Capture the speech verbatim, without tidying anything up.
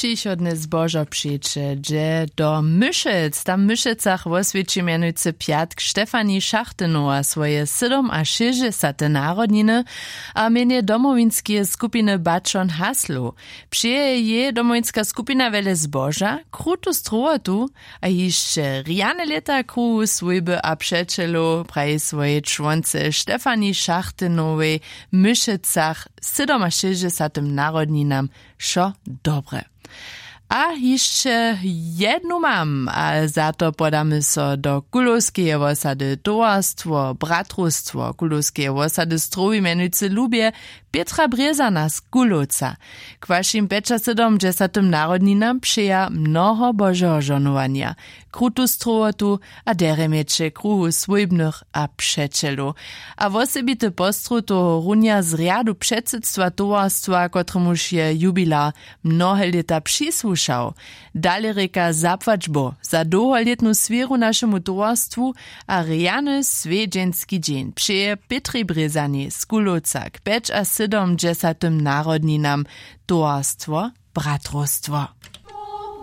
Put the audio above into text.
Přichodne zbožo přeće dźe do Myšec. Tam w Myšecach woswjeći mjenujcy pjatk Štefani Šachtenowa swoje sydomašěsćdźesate narodniny a mjenje domowinskeje skupiny Bačon Haslow. Přeje jej domowinska skupina wjele zboža, krutu strowotu a hišće rjane lěta kruhu swójby a přećelow, praji swojej čłonce Štefani Šachtenowej w Myšecach sydomašěsćdźesatym narodninam wšo dobre. A hišće jednu mam, a za to podamy so do Kulowskeje wosady. Towarstwo Bratrowstwo Kulowskeje wosady strowi mjenujcy lubje Pětra Brězana z Kulowca. K wašim pjećasydomdźesatym narodninam přeja mnoho božeho žohnowanja, krutu strowotu a derje měće kruhu swójbnych a přećelow. A wosebity postrowtow runja z rjadu předsydstwa towarstwa, kotremuž je jubilar mnohe lěta přisłušał. Dale rěka zapłać bóh za dołholětnu swěru našemu towarstwu a rjany swjedźenski dźeń přeje Pětrej Brězanej z Kulowca k pjećasydomdźesatym narodninam towarstwo Bratrowstwo.